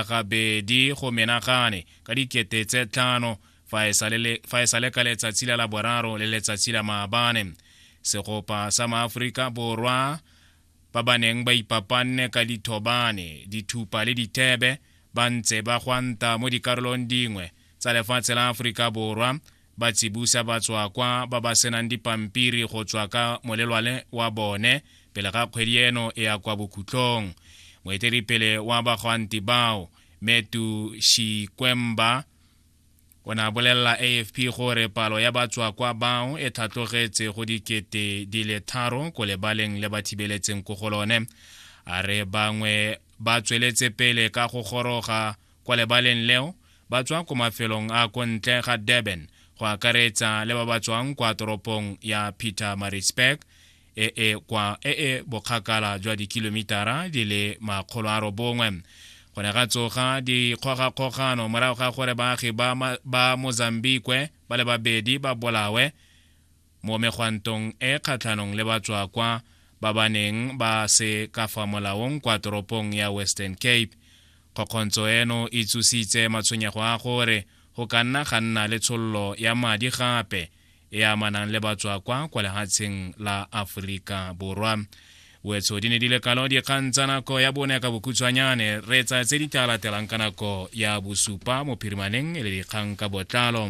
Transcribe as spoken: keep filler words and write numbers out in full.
Gabedi go menagane ka dikete tse tlhano fa e sale ka letsatsi la Laboraro le letsatsi la maabane. Segopa sa maAforika Borwa ba ba neng ba ipapanne ka dithobane, dithupa le dithebe ba ntse ba gwanta mo dikarolong dingwe tsa lefatshe la Aforika Borwa, ba tsibusa batswakwa ba ba senang dipampiri go tswa ka molelwane wa bone pele ga kgwedi eno e ya kwa bokhutlong. Moeteledipele wa bagwanti bao, Metu Shikwemba, o ne a bolelela A F P gore palo ya batswakwa bao e tlhatlogetse go dikete di le tharo ko lebaleng le ba thibeletseng ko go lone. A re bangwe ba tsweletse pele ka go goroga kwa lebaleng leo ba tswa ko mafelong a ko ntle ga Durban, go akaretsa le ba ba tswang kwa toropong ya Pietermaritzburg e e kwa e e bokgakala jwa dikilomitara di le makgolo a robongwe. Go ne ga tsoga dikgogakgogano morago ga gore baagi ba, ba Mozambique ba le babedi ba bolawe mo megwantong e kgatlhanong le batswakwa ba ba neng ba se ka fa molaong kwa toropong ya Western Cape. Kgokgontsho eno e tsositse matshwenyego a gore go ka nna ga nna le tshololo ya madi gape e amanang le batswakwa kwa lefatsheng la Aforika Borwa. Wetso di ne di le kalo dikgang tsa nako ya bone ka bokhutshwanyane. Re tsa tse di tla latelang ka nako ya bosupa mo phirimaneng e le dikgang ka botlalo.